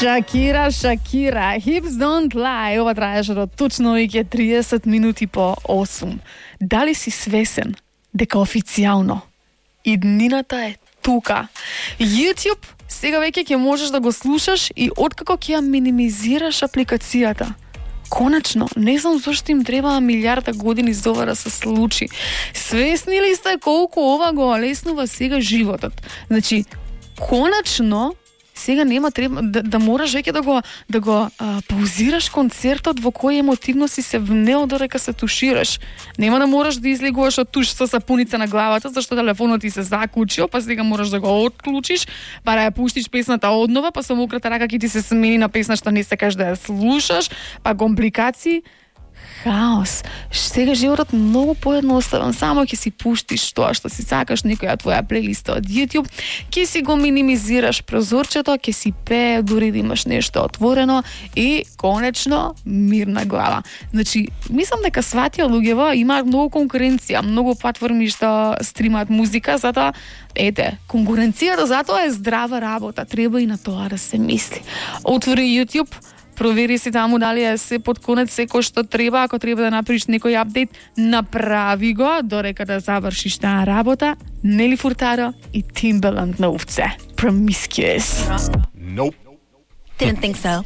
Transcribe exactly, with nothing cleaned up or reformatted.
Шакира, Шакира, Hips Don't Lie. Ова траеше до точно веќе триесет минути по осум. Дали си свесен дека официјално иднината е тука? YouTube сега веќе ќе можеш да го слушаш и откако ќе ја минимизираш апликацијата. Конечно, не знам зашто им треба милиарда години за ова да се случи. Свесни ли сте колку ова го олеснува сега животот? Значи, конечно, сега нема треба да, да мораш веќе да го да го а, паузираш концертот во кој емотивно си се внел додека се тушираш. Нема да мораш да излегуваш од туш со сапуница на главата зашто телефонот ти се заклучил, па сега мораш да го отклучиш, па да ја пуштиш песната однова, па со мократа рака ќе ти се смени на песна што не сакаш да ја слушаш, па компликации. Хаос. Сега животот многу поедноставен. Само ќе си пуштиш тоа што си сакаш, некоја твоја плейлиста од YouTube, ќе си го минимизираш прозорчето, ќе си пее, дури да имаш нешто отворено и конечно мирна глава. Значи, мислам дека сватија луѓево имаат многу конкуренција, многу платформи што стримаат музика, затоа ете, конкуренцијата затоа е здрава работа, треба и на тоа да се мисли. Отвори YouTube, провери си таму дали е се под конец секој што треба, ако треба да направиш некој апдейт, направи го додека да завршиш таа работа. Нели Фуртадо и Timbaland на овце. Promiscuous. Nope. Didn't think so.